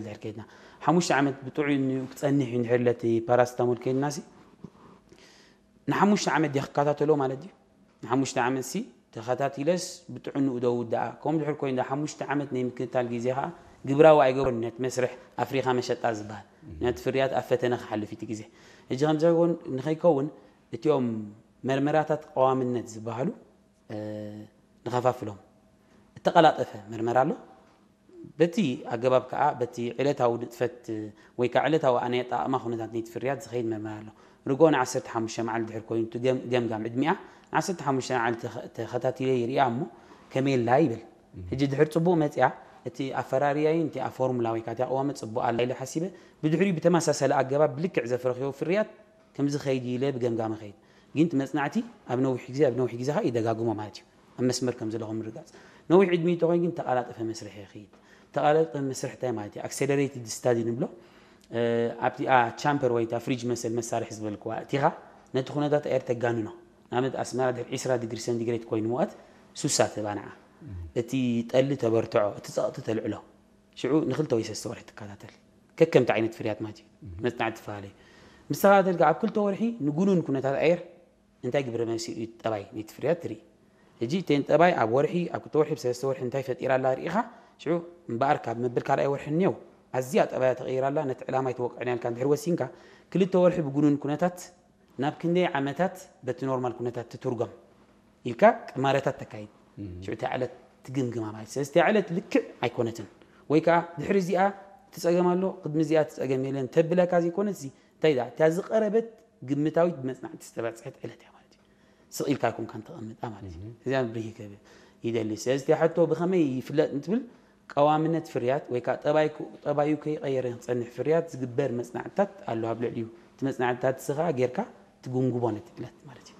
ድሕር ከይድና ሓሙሽተ ዓመት ብጥዑይ ክፀንሕ እዩ ድሕር ለቲ ፓራስታሞል ከይድና ሲ ንሓሙሽተ ዓመት ዲያ ክከታተሎ ማለት እዩ። ንሓሙሽተ ዓመት ሲ ተኸታቲለስ ብጥዕንኡ ዶ ውዳኣ። ከምኡ ድሕር ኮይኑ ሓሙሽተ ዓመት ናይ ምክትታል ግዜ ከዓ ግብራዊ ኣይገብሮን ነቲ መስርሕ ኣፍሪኻ መሸጣ ዝበሃል ነቲ ፍርያት ኣብ ፈተነ ክሓልፍ እቲ ግዜ። ሕጂ ከምዚ ንኸይከውን እቲኦም መርመራታት ቀዋምነት ዝበሃሉ ንኸፋፍሎም። እተቐላጠፈ መርመራ ኣሎ። በቲ ኣገባብ ከዓ በቲ ዕለታዊ ንጥፈት ወይ ከዓ ዕለታዊ ኣነ ኣጠቓቕማ ኩነታት ነቲ ፍርያት ዝኸይድ መርመራ ኣሎ። ርግኦ ን15 መዓልቲ ድሕር ኮይኑ እቲ ገም- ገምጋም ዕድሚኣ ን15 መዓልቲ ተኸ- ተኸታቲለ ይሪኣ እሞ ከመይ ኣላ ይብል። ሕጂ ድሕር ፅቡቕ መፅያ እቲ ኣፈራርያይን እቲ ኣብ ፎርሙላ ወይ ከዓ እቲ ኣቕዋመ ፅቡቕ ኣላ ኢለ ሓሲበ ብድሕሪኡ ብተመሳሳሊ ኣገባብ ብልክዕ ዘፍረኽዮ ፍርያት ከምዚ ኸይድ ኢለ ብገምጋመ ኸይድ ግን እቲ መፅናዕቲ ኣብ ነዊሕ ግዜ ኣብ ነዊሕ ግዜ ከዓ ይደጋግሞ ማለት እዩ። ኣብ መስመር ከም ዘለኹ ምርጋፅ ነዊሕ ዕድሚ ተኾይኑ ግን ተቓላጠፈ መስርሕ ይኽይድ። ተቓላጠፈ መስርሕ እንታይ ማለት እዩ? ኣክሰለሬትድ ስታዲ ንብሎ ኣብቲኣ ቻምፐር ወይ ፍሪጅ መሰል መሳርሒ ዝበልክዋ እቲኻ ነቲ ኩነታት ኣየር ተጋንኖ። ንኣብነት ኣስመራ ድሕሪ 20 ዲግሪ ሰንቲግሬት ኮይኑ ሙቐት ሱሳ ተባንዓ። እቲ ጠሊ ተበርትዖ፣ እቲ ፀቕጢ ተልዕሎ። ሽዑ ንክልተ ወይ ሰለስተ ወርሒ ትከታተል። ከከምቲ ዓይነት ፍርያት ማለት እዩ። መፅናዕቲ ትፈላለዩ ምስ ተኸታተልካ ኣብ ክልተ ወርሒ ንጉኑን ኩነታት ኣየር እንታይ ግብረ መልሲ እዩ ጠባይ ናይቲ ፍርያት ትርኢ። ሕጂ እተን ጠባይ ኣብ ወርሒ ኣብ ክልተ ወርሒ ብሰለስተ ወርሒ እንታይ ፈጢራ ኣላ ርኢኻ ሽዑ እምበኣር ካብ መብል ካልኣይ ወርሒ እኒው ኣዝያ ጠባያ ተቐይራ ኣላ ነቲ ዕላማ ኣይትወቅዕን ያልካ እንድሕር ወሲንካ ክልተ ወርሒ ብጉኑን ኩነታት ናብ ክንደይ ዓመታት በቲ ኖርማል ኩነታት ትትርጎም ኢልካ ቅማረታት ተካይድ። ሽዑ እታ ዕለት ትግምግማ ማለት ስለዚ እታ ዕለት ልክዕ ኣይኮነትን ወይ ከዓ ድሕሪ እዚኣ ትፀገም ኣሎ ቅድሚ እዚኣ ትፀገም የለን ተብለካ ዘይኮነት እዚ እንታይ ዳ እታ ዝቀረበት ግምታዊት ብመፅናዕቲ ዝተበፅሐት ዕለት እያ ማለት እዩ። ስቕ ኢልካ ኣይኮንካን ተቐምጣ ማለት እዩ። እዚኣ ብርሂ ክብል ይደሊ። ስለዚ እታ ሕቶ ብኸመይ ይፍለጥ እንትብል ቀዋምነት ፍርያት ወይ ከዓ ጠባይ ጠባዩ ከይቀየረ ክፀንሕ ፍርያት ዝግበር መፅናዕትታት ኣሎ ኣብ ልዕሊኡ እቲ መፅናዕትታት ስኻ ጌርካ ትጉምጉቦ ነቲ ዕለት ማለት እዩ።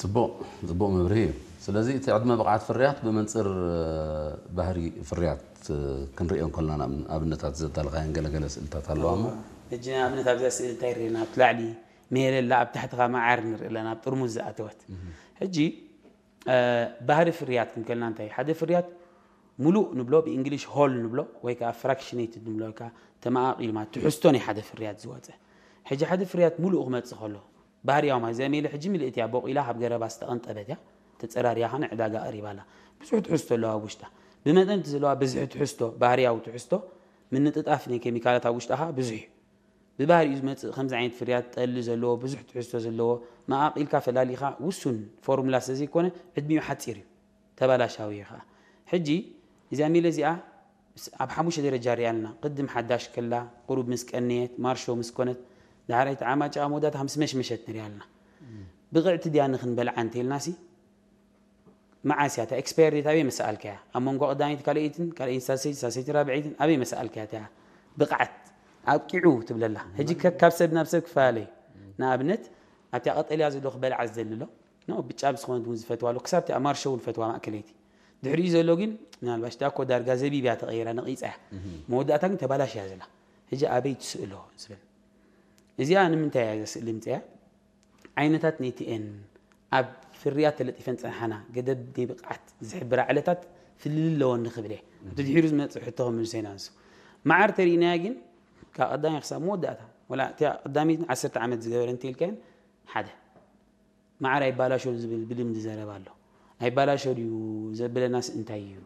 ፅቡቕ ፅቡቕ መብርሂ እዩ። ስለዚ እቲ ዕድመ ብቕዓት ፍርያት ብመንፅር ባህሪ ፍርያት ክንሪኦ እንከልና ኣብነታት ዘዳልኻየን ገለገለ ስእልታት ኣለዋ እሞ ሕጂ ንኣብነት ኣብዚኣ ስእሊ እንታይ ርኢና ኣብቲ ላዕሊ ሜለላ ኣብ ታሕቲ ከዓ መዓር ንርኢ ኣለና ኣብ ጥርሙዝ ዝኣተወት ሕጂ ባህሪ ፍርያት ክንከልና እንታይ ሓደ ፍርያት ሙሉእ ንብሎ ብእንግሊሽ ሆል ንብሎ ወይ ከዓ ፍራክሽኔትድ ንብሎ ወይ ከዓ ተመቓቒሉ ማለት ትሕዝቶ ናይ ሓደ ፍርያት ዝወፀ ሕጂ ሓደ ፍርያት ሙሉእ ክመፅእ ከሎ ባህርያዊ ማለት እዚኣ ሜለ ሕጂ ምልእቲ እያ ቦቂላ ካብ ገረባ ዝተቐንጠበት እያ ተፀራርያ ከዓ ንዕዳጋ ቀሪባ ኣላ ብዙሕ ትሕዝቶ ኣለዋ ኣብ ውሽጣ ብመጠን እቲ ዘለዋ ብዝሒ ትሕዝቶ ባህርያዊ ትሕዝቶ ምንጥጣፍ ናይ ኬሚካላት ኣብ ውሽጣ ከዓ ብዙሕ እዩ ብባህሪኡ ዝመፅእ ከምዚ ዓይነት ፍርያት ጠሊ ዘለዎ ብዙሕ ትሕዝቶ ዘለዎ መቓቒልካ ፈላሊኻ ውሱን ፎርሙላ ስለዘይኮነ ዕድሚኡ ሓፂር እዩ ተባላሻዊ እዩ ከዓ ሕጂ እዚኣ ሚለ እዚኣ ኣብ ሓሙሽተ ደረጃ ሪኣ ኣለና ቅድም ሓዳሽ ከላ ቁሩብ ምስ ቀነየት ማርሾ ምስ ኮነት ዳሕራይ ተዓማጭኣ መወዳእታ ምስ መሽመሸት ንሪኣ ኣለና ብቕዕቲ ድያ ንክንበልዓ እንተልና ሲ መዓስ እያ እታ expire date ኣበይ መሰኣልካያ ኣብ መንጎ ቀዳመይቲ ካልኣይትን ካልኣይን ሳልሰይቲ ሳልሰይቲ ራብዐይትን ኣበይ መሰኣልካያ እታ ብቕዓት ኣብቂዑ ትብለላ ሕጂ ከ- ካብ ሰብ ናብ ሰብ ክፈላለ እዩ ንኣብነት ኣብታ ቀጠልያ ዘሎ ክበልዓ ዝደሊ ኣሎ ኖ ብጫ ብዝኾነት እውን ዝፈትዋ ኣሎ ክሳብ እቲኣ ማርሾ እውን ፈትዋ ማእከለይቲ ድሕሪኡ ዘሎ ግን ምናልባሽ ዳኮ ዳርጋ ዘቢብ እያ ተቐይራ ነቒፃ እያ መወዳእታ ግን ተባላሽ እያ ዘላ ሕጂ ኣበይ ትስእሎ ዝብል እዚኣ ንምንታይ እያ ዘስእሊ ምፅያ ዓይነታት ኔቲኤን ኣብ ፍርያት ተለጢፈን ዝፀንሓና ገደብ ናይ ብቕዓት ዝሕብራ ዕለታት ፍልልይ ኣለወን ንኽብል እየ። ኣብቲ ድሒሩ ዝመፅእ ሕቶ ክምልሶ ኢና ንሱ። መዓር ተሪእናያ ግን ካብ ቀዳማይ ክሳብ መወዳእታ ወላ እቲኣ ቀዳመይቲ ዓሰርተ ዓመት ዝገበረ እንተኢልካየን ሓደ መዓር ኣይባላሾን ዝብል ብልምዲ ዘረባ ኣሎ። ኣይባላሾ ድዩ ዘብለናስ እንታይ እዩ?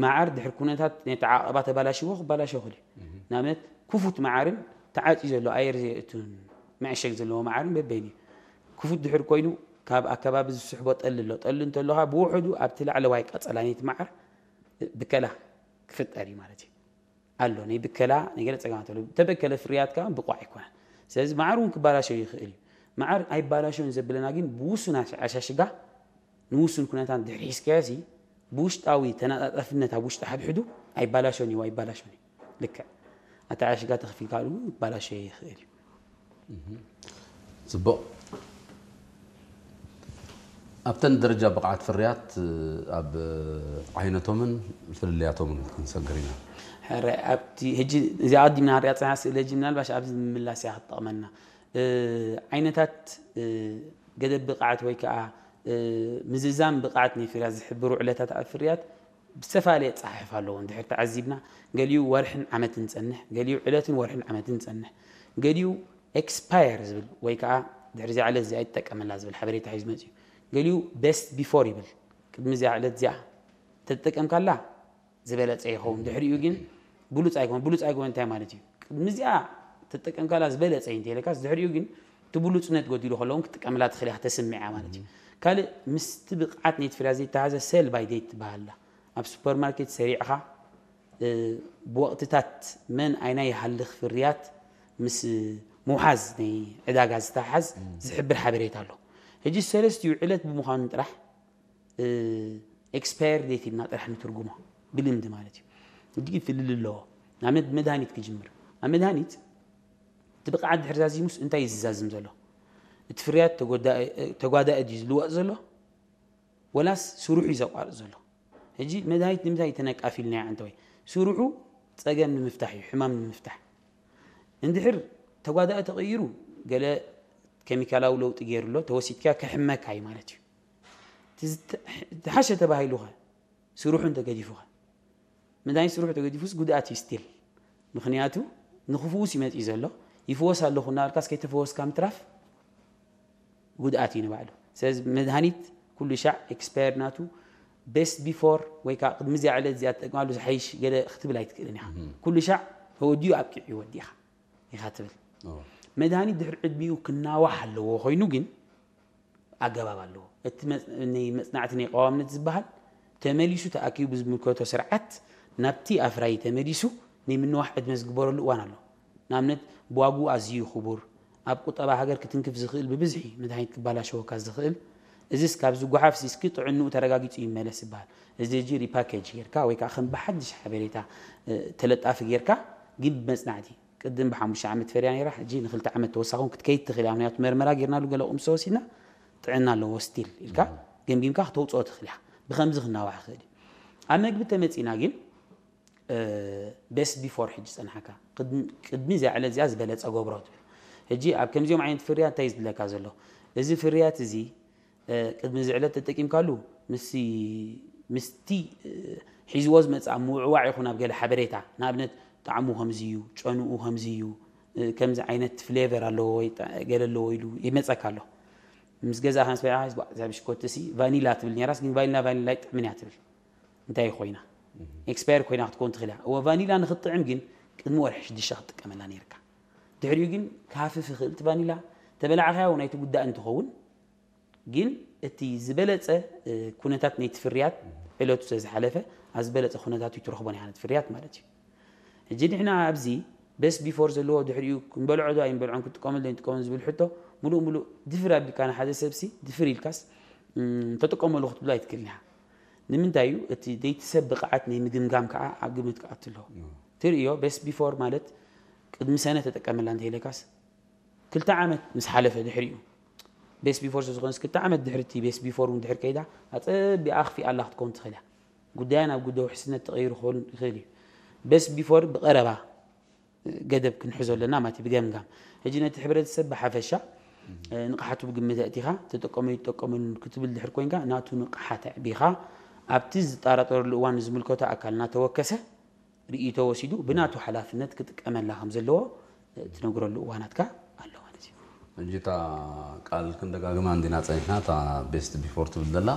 መዓር ድሕሪ ኩነታት ነቲ ዓቐባ ተባላሽዎ ክባላሾ ይኽእል እዩ። ንኣብነት ክፉት መዓርን ተዓፅዩ ዘሎ ኣየር ዘየእቱን መዕሸግ ዘለዎ መዓርን በበይኑ እዩ። ክፉት ድሕሪ ኮይኑ ካብ ኣከባቢ ዝስሕቦ ጠሊ ኣሎ። ጠሊ እንተሎ ከዓ ብውሕዱ ኣብቲ ላዕለዋይ ቀፀላ ናይቲ መዓር ብከላ ክፍጠር እዩ ማለት እዩ። ኣሎ ናይ ብከላ ናይ ገለ ፀገማት ኣሎ። ተበከለ ፍርያት ከዓ ብቑዕ ኣይኮነን። ስለዚ መዓር እውን ክባላሸው ይኽእል እዩ። መዓር ኣይባላሸውን ዘብለና ግን ብውሱን ኣሻሽጋ ንውሱን ኩነታት ድሕሪ ሒዝካዮ ሲ ብውሽጣዊ ተናጣጣፍነት ኣብ ውሽጢ ሓድሕዱ ኣይባላሸውን እዩ ኣይባላሸውን እዩ ልክዕ ኣተዓሽጋ ተኽፊልካሉ ይባላሸ ይኽእል እዩ ፅቡቕ ኣብተን ደረጃ ብቕዓት ፍርያት ኣብ ዓይነቶምን ፍልልያቶምን ክንሰግር ኢና ሕራይ ኣብቲ ሕጂ እዚኣ ቀዲምና ንሪኣ ፅና ስእሊ ሕጂ ምናልባሽ ኣብዚ ምምላስ እያ ክትጠቕመና ዓይነታት ገደብ ብቕዓት ወይ ከዓ ምዝዛም ብቕዓት ናይ ፍርያት ዝሕብሩ ዕለታት ኣብ ፍርያት ብዝተፈላለየ ኣጸሓሕፋ ኣለዎ። እንድሕር ተዓዚብና፣ ገሊኡ ወርሕን ዓመትን ጸንሕ፣ ገሊኡ ዕለትን ወርሕን ዓመትን ጸንሕ፣ ገሊኡ ኤክስፓየር ዝብል ወይ ከዓ ድሕሪ እዚኣ ዕለት እዚኣ ይጠቀመላ ዝብል ሓበሬታ ሒዙ መፅዩ። ገሊኡ ቤስት ቢፎር ይብል። ቅድሚ እዚኣ ዕለት እዚኣ ተጠቀምካላ ዝበለፀ ይኸውን። ድሕሪኡ ግን ብሉፅ ኣይኮን። ብሉፅ ኣይኮን እንታይ ማለት እዩ? ቅድሚ እዚኣ ተጠቀምካላ ዝበለፀ እዩ እንተኢለካስ፣ ድሕሪኡ ግን እቲ ብሉፅነት ጎዲሉ ከለውን ክትጥቀምላ ትኽእል ኢኻ፣ ተስምዕ እያ ማለት እዩ። ካልእ ምስቲ ብቕዓት ናይቲ ፍርያት ዘይተሓዘ ሴል ባይ ዴት ትበሃል ኣላ። ኣብ ሱፐርማርኬት ሰሪዕኻ፣ እ፣ ብወቕትታት መን ኣይናይ ይሃልኽ ፍርያት ምስ ምውሓዝ ናይ ዕዳጋ ዝተሓዝ ዝሕብር ሓበሬታ ኣሎ። ሕጂ ሰለስቲኡ ዕለት ብምዃኑ ጥራሕ፣ እ፣ ኤክስፓየር ዴት ኢልና ጥራሕ ንትርጉሞ ብልምዲ ማለት እዩ። ሕጂ ግን ፍልል ኣለዎ። ንኣብነት ብመድሃኒት ክጅምር። ኣብ መድሃኒት እቲ ብቕዓት ድሕሪ ዛዚሙስ እንታይ እዩ ዝዛዝም ዘሎ? እቲ ፍርያት ተጎዳ-፣ ተጓዳኢ ድዩ ዝልወጥ ዘሎ? ወላስ ስርሑ እዩ ዘቋርጽ ዘሎ? ሕጂ መድሃኒት ንምንታይ ተነቃፊልናዮ? ኣንተ ወይ ስርሑ ጸገም ንምፍታሕ እዩ፣ ሕማም ንምፍታሕ። እንድሕር ተጓዳኢ ተቐይሩ፣ ገለ ኬሚካላዊ ለውጢ ገይሩ ኣሎ፣ ተወሲድካ ከሕመካ እዩ ማለት እዩ። እቲ ዝተ-፣ ዝሓሸ ተባሂሉኸ፣ ስርሑ እንተገዲፉኸ? መድሃኒት ስርሑ ተገዲፉስ ጉድኣት እዩ ስቲል። ምኽንያቱ ንኽፍውስ ይመጽእ ዘሎ፣ ይፍወስ ኣለኹ እናበልካስ ከይተፈወስካ ምትራፍ ጉድኣት እዩ ንባዕሉ። ስለዚ መድሃኒት ኩሉ ሻዕ ኤክስፓየር ናቱ፣ ቤስት ቢፎር ወይ ከዓ ቅድሚ እዚኣ ዕለት እዚኣ ትጠቅማሉ ዝሓይሽ ገለ ክትብል ኣይትክእልን ኢኻ። ኩሉ ሻዕ ተወዲኡ ኣብቂዑ እዩ ወዲእኻ ኢኻ ትብል። መድሃኒት ድሕሪ ዕድሚኡ ክናዋሕ ኣለዎ ኮይኑ ግን ኣገባብ ኣለዎ። እቲ መጽ-፣ ናይ መጽናዕቲ ናይ ቀዋምነት ዝበሃል ተመሊሱ ተኣኪቡ ብዝምልከቶ ስርዓት ናብቲ ኣፍራዪ ተመሊሱ ናይ ምንዋሕ ዕድመ ዝግበረሉ እዋን ኣሎ። ንኣብነት ብዋግኡ ኣዝዩ ክቡር፣ ኣብ ቁጠባ ሃገር ክትንክፍ ዝኽእል ብብዝሒ መድሃኒት ክባላሸወካ ዝኽእል፣ እዚስ ካብ ዝጓሓፍ እስኪ ጥዕንኡ ተረጋጊጹ ይመለስ ይበሃል። እዚ ሕጂ ሪፓኬጅ ጌርካ ወይ ከዓ ከም ብሓድሽ ሓበሬታ፣ እ፣ ተለጣፊ ጌርካ ግን ብመጽናዕቲ ቅድም ብሓሙሽተ ዓመት ፈርያ ነይራ፣ ሕጂ ንክልተ ዓመት ተወሳኹን ክትከይድ ትኽእል እያ። ምክንያቱ መርመራ ጌርናሉ ገለ ቁምሶ ወሲድና ጥዕና ኣለዎ ስቲል ኢልካ ገምጊምካ ክተውፅኦ ትኽእል ኢኻ። ብከምዚ ክናዋሕ ይኽእል እዩ። ኣብ መግቢ ተመፂና ግን ቤስት ቢፎር ሕጂ ፀንሓካ ቅድሚ፣ ቅድሚ እዚኣ ዕለት እዚኣ ዝበለፀ ገብሮ ትብል። ሕጂ ኣብ ከምዚኦም ዓይነት ፍርያት እንታይ እዩ ዝድለካ ዘሎ? እዚ ፍርያት እዚ እ፣ ቅድሚ እዚ ዕለት ተጠቂምካሉ ምስቲ፣ ምስቲ፣ እ፣ ሒዝዎ ዝመጽእ ኣብ ምውዕዋዕ ይኹን ኣብ ገለ ሓበሬታ፣ ንኣብነት ጣዕሙ ከምዚ እዩ፣ ጨንኡ ከምዚ እዩ፣ እ፣ ከምዚ ዓይነት ፍሌቨር ኣለዎ ወይ ጠ-፣ ገለ ኣለዎ ኢሉ ይመጸካ ኣሎ። ምስ ገዛእካ ምስ በላዕካ፣ "እዛ ብሽኮቲ ሲ ቫኒላ ትብል ነይራስ፣ ግን ቫኒላ፣ ቫኒላ ኣይጥዕምን እያ" ትብል። እንታይ ኮይና? ኤክስፓየር ኮይና ክትከውን ትኽእል እያ። እወ፣ ቫኒላ ንኽትጥዕም ግን ቅድሚ ወርሒ ሽዱሽተ ክትጥቀመላ ነይርካ። ድሕሪኡ ግን ክሃፍፍ ይኽእል። እቲ ቫኒላ ተበላዕካዮ እውን ኣይትጉዳእ እንትኸውን፣ ግን እቲ ዝበለጸ፣ እ፣ ኩነታት ናይቲ ፍርያት ዕለቱ ስለ ዝሓለፈ፣ ኣብ ዝበለጸ ኩነታቱ ኣይትረኽቦን ኢኻ ነቲ ፍርያት ማለት እዩ። ሕጂ ንሕና ኣብዚ ቤስት ቢፎር ዘለዎ ድሕሪኡ ክንበልዖ ዶ ኣይንበልዖን፣ ክንጥቀመሉ ዶ ኣይንጥቀመሉን ዝብል ሕቶ፣ ምሉእ ምሉእ ድፍር ኣቢልካ ንሓደ ሰብሲ ድፍር ኢልካስ፣ እም፣ ተጥቀመሉ ክትብሎ ኣይትክእልን ኢኻ። ንምንታይ እዩ? እቲ ደይቲ ሰብ ብቕዓት ናይ ምግምጋም ከዓ ኣብ ግምት ክኣቱ ኣለዎ። ትርእዮ፣ ቤስት ቢፎር ማለት ቅድሚ ሰነ ተጠቀመላ እንተኢለካስ፣ ክልተ ዓመት ምስ ሓለፈ ድሕሪኡ፣ ቤስት ቢፎር ስለ ዝኾነስ፣ ክልተ ዓመት ድሕሪ እቲ ቤስት ቢፎር እውን ድሕሪ ከይዳ፣ ኣጸቢቓ ኣኽፊኣላ ክትከውን ትኽእል እያ። ጉዳያ ናብ ጉዳይ ውሕስነት ተቐይሩ ክኸውን ይኽእል እዩ። ቤስት ቢፎር ብቐረባ ገደብ ክንሕዞ ኣለና ማለት እዩ፣ ብገምጋም። ሕጂ ነቲ ሕብረተሰብ ብሓፈሻ፣ እ፣ ንቕሓቱ ብግምት ኣእቲኻ፣ ተጠቀሙ ይጠቀሙን ክትብል ድሕር ኮይንካ፣ ናቱ ንቕሓት ኣዕቢኻ፣ ኣብቲ ዝጠራጠረሉ እዋን ንዝምልከቶ ኣካል እናተወከሰ፣ ርእይቶ ወሲዱ ብናቱ ሓላፍነት ክጥቀመላ ከም ዘለዎ ትነግረሉ እዋናት ከኣ ኣሎ ማለት እዩ። ሕጂ እታ ቃል ክንደጋግማ እንዲና ጸኒሕና፣ እታ ቤስት ቢፎር ትብል ዘላ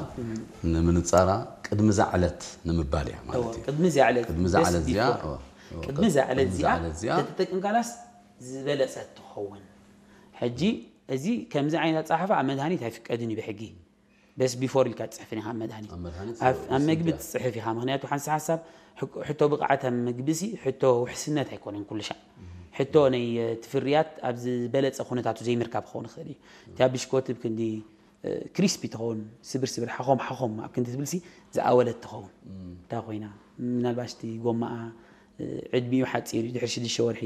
ንምንጻራ ቅድሚ እዛ ዕለት ንምባል እያ ማለት እወ፣ እዩ። ቅድሚ እዚኣ ዕለት፣ ቅድሚ እዛ ቤስት ዕለት እዚኣ፣ ቢፎር። እወ፣ እወ፣ ቅድሚ እዛ ዕለት ቅድሚ እዛ እዚኣ ዕለት እዚኣ ተተጠቂምካላስ ዝበለጸት ትኸውን። ሕጂ እዚ ከምዚ ዓይነት ኣጸሓሕፋ ኣብ መድሃኒት ኣይፍቀድን እዩ ብሕጊ። ቤስት ቢፎር ኢልካ ትጽሕፍን ኢኻ ኣብ መድሃኒት። ኣብ መድሃኒት ኣብ፣ ኣብ መግቢ ትጽሕፍ ኢኻ። ምኽንያቱ ሓንሳብ ሓንሳብ ሕክ-፣ ሕቶ ብቕዓት ኣብ መግቢ ሲ ሕቶ ውሕስነት ኣይኮነን ኩሉ ሻዕ። ሕቶ ናይ፣ እ፣ እቲ ፍርያት ኣብ ዝበለጸ ኩነታቱ ዘይምርካብ ክኸውን ይኽእል እዩ። እታ ብሽኮቲ ብክንዲ፣ እ፣ ክሪስፒ ትኸውን፣ ስብር ስብር፣ ሓኾም ሓኾም ኣብ ክንዲ ትብል ሲ ዝኣወለት ትኸውን። እንታይ ኮይና? ምናልባሽ እቲ ጎማኣ፣ እ፣ ዕድሚኡ ሓጺር እዩ፣ ድሕሪ ሽዱሽተ ወርሒ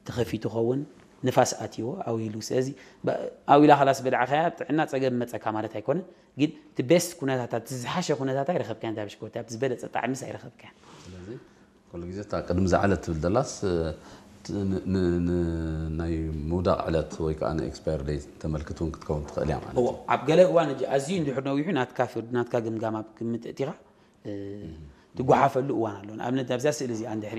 ተኸፊቱ ኸውን፣ ንፋስ ኣትይዎ፣ ኣዊሉ። ስለዚ፣ ባ-፣ ኣዊላ ኸላስ በላዕካያ፣ ኣብ ጥዕና ጸገም መጸካ ማለት ኣይኮነን። ግን እቲ ቤስት ኩነታታት፣ እቲ ዝሓሸ ኩነታት ኣይረኸብካያን፣ እታ ብሽኮቲ፣ ኣብቲ ዝበለጸ ጣዕሚስ ኣይረኸብካያን። ስለዚ፣ ኩሉ ግዜ እታ ቅድሚ እዛ ዕለት ትብል ዘላስ፣ እ፣ ት-፣ ን-፣ ን-፣ ን-፣ ናይ ምውዳቕ ዕለት ወይ ከዓ ንኤክስፓየር ዴት ተመልክት እውን ክትከውን ትኽእል እያ ማለት እዎ፣ እዩ። ኣብ ገለ እዋን፣ ሕጂ ኣዝዩ እንድሕር ነዊሑ፣ ናትካ ፍርዲ፣ ናትካ ግምጋም ኣብ ግምት እቲኻ፣ እ፣ ትጓሓፈሉ እዋን ኣሎ። ንኣብነት ኣብዛ ስእሊ እዚኣ እንድሕሪ